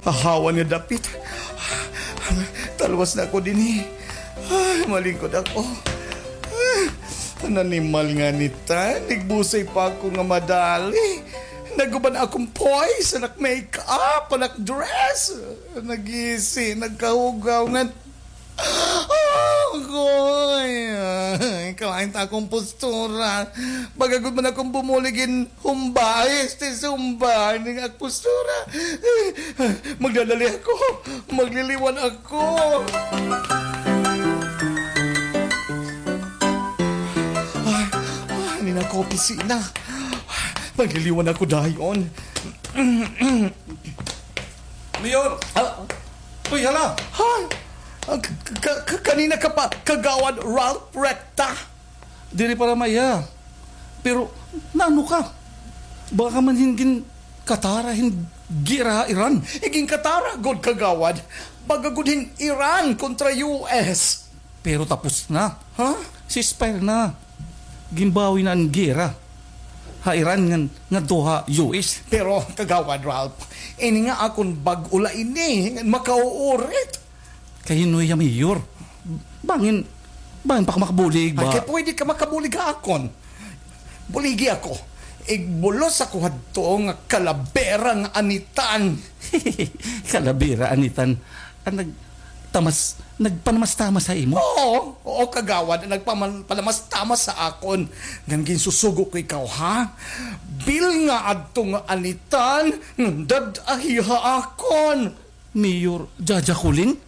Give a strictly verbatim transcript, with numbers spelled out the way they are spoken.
Ahawan nga dapit. Talwas na ako dinhi. Ay, malingkod ako. Ay, an animal nga anitan, nagbusay pa ako nga madali. Nag-uban akon poise, anak makeup, anak dress. Nagisi, nagkahugaw nga Agoy! Ay, kalain ta akon postura. Baga gud man akon bumulig hin humba, este zumba, ning ak postura. Magdadali ako. Magliliwan ako. Ay, ay, nin ako opisina. Magliliwan ako dayon. Mayor! Ah, Uy, hala! Hay! Ah, ka-, ka-, ka-, kanina ka pa, Kagawad Ralph Recta? Diri para maiha. Pero, naano ka? Baka man hin ginkatara hin gera ha Iran. Iginkatara gud, Kagawad. Baga gud hin Iran kontra U S. Pero tapos na. Ha? Ceasefire na. Ginbawi na an gera ha Iran ngan ngadto ha U S. Pero, Kagawad Ralph, ini nga akon bag-o la ini, ngan makauurit. Kay hinoy ha, Mayor? Bangin, bangin pa ka makabulig ba? Ay, kay pwede ka makabulig ha akon. Buligi ako. Igbulos ako hadto nga kalabera nga anitan. Kalabera anitan. An nagtamas, nagpanamastamas ha imo? Oo, oo, Kagawad, an nagpaman-, panamastamas ha akon. Ngan ginsusugo ko ikaw, ha? Bilnga adto nga anitan, ngan dad-ahi ha akon. Mayor Jaja Kulin?